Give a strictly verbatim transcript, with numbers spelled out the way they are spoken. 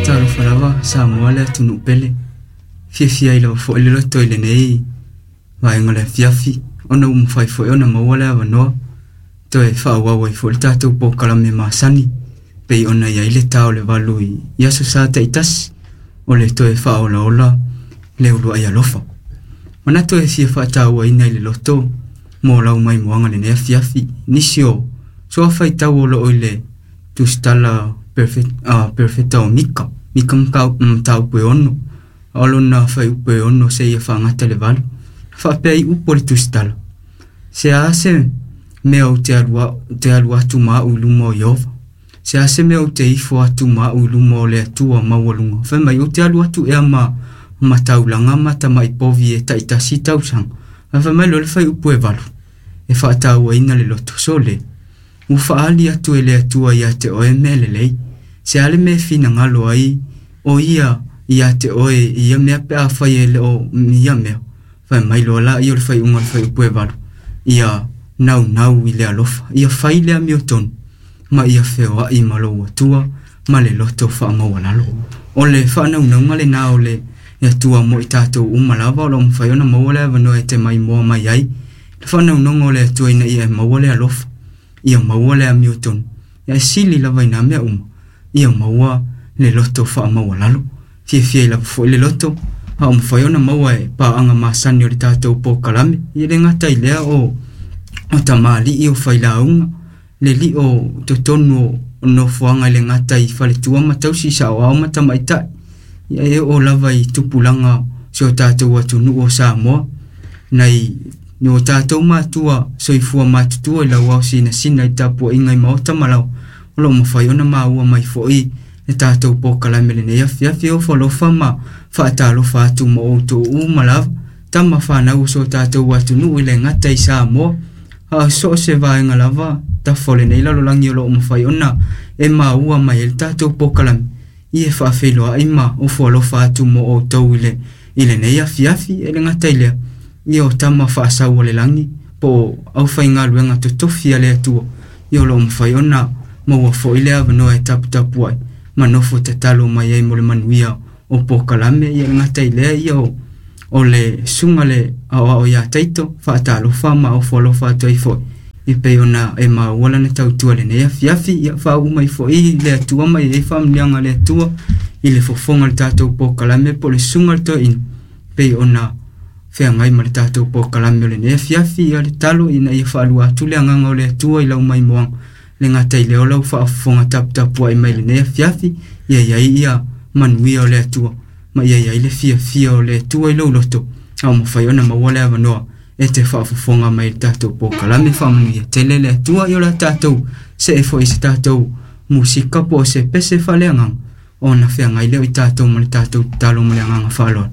Talofa lava Samoa le atunuu pele. Fiafia ai lava fo'i le loto i lenei vaega o le afiafi ona ua mafai fo'i ona maua le avanoa toe fa'aauau ai fo'i le tatou polokalame masani pei ona iai le tā o le valu i aso sa ta'itasi o le toe fa'aolaola le ulua'i alofa. Manatu e fia fa'atāuaina i le loto mo lau maimoaga lenei afiafi nisi o soafaitau o lo'o i le tusitala perofeta o Mika Mika mataupu e ono o lona faiupu e ono seia fa'agata le valu fa'apea ai upu o le tusitala se a se mea ou te alu atu ma a'u i luma o Ieova se a se mea ou te ifo atu ma a'u i luma o le Atua maualuga fai mai ou te alu atu ea ma mataulaga ma tama'i povi e ta'itasi tausaga ae fai mai loa le faiupu e valu e fa'atāuaina le loto sole ua fa'aali atu e le Atua iā te oe mea lelei se a le mea e finagalo ai o ia iā te oe i ia mea pe afai e le o ia mea fai mai loa laia o le fai'uga o le faiupu e valu ia naunau i le alofa ia fai le amiotonu ma ia feoa'i ma lou Atua ma le loto fa'amaualalo o le fa'anaunauga lenā o le Atua mo i tatou uma lava o lo'o mafai ona maua le avanoa e te maimoa mai ai le fa'anaunauga o le Atua ina ia e maua le alofa ia maua le amiotonu ia e sili lava inā mea uma ia maua le loto fa'amaualalo fiafia ai lava fo'i le loto a o mafai ona maua e pa'aga masani o le tatou polokalame ia le gata i lea o o tamali'i o failauga le li'o totonu o nofoaga i le gata i faletua ma tausi sa'oao ma tamaita'i ia e oo lava i tupulaga si o tatou atunu'u o Samoa nai o tatou matua soifua matutua i lau ao sinasina i tapua'iga i maota ma laoa o lo'o mafai ona maua mai fo'i le tatou polokalame lenei afiafi e ofo alofa ma fa'atalofa atu ma outou uma lava tama fanau o so tatou atunu'u i le gata i Samoa a so o se vaega lava tafa o lenei lalolagi o lo'o mafai ona e maua mai ai le tatou polokalame ia e fa'afeiloa'i ma ofo alofa atu mo outou i le i lenei afiafi e le gata i lea ia o tama fa'asau o le lagi po o aufaigaluega totofi a le Atua ia o lo'o mafai ona maua fo'i le avanoa e taputapu ai ma nofo tatalo mai ai mo le manuia o polokalame ia le gata i lea ia o o le susuga le aoao iā Taito fa'atalofa ma ofo alofa atu ai fo'i e pei ona e maua lana tautua lenei afiafi ia fa'auu mai fo'i le Atua ma iai fa'amanuiaga a le Atua i le fofoga o le tatou polokalame po o le susuga le toeaina pei ona feagai ma le tatou polokalame o lenei afiafi ia le talo ina ia fa'alua atu le agaga o le Atua i lau maimoaga le gata i lea o lau fa'afofoga taputapua'i mai lenei afiafi ia iai ia manuia o le Atua ma ia iai le fiafia o le Atua i lou loto a o mafai ona maua le avanoa e te fa'afofoga mai le tatou polokalame fa'amanuia tele le Atua i o la tatou se'e fo'i se tatou musika po o se pese fa'aleagaga ona feagai lea o i tatou ma le tatou tatalo ma le agaga fa'aloalo.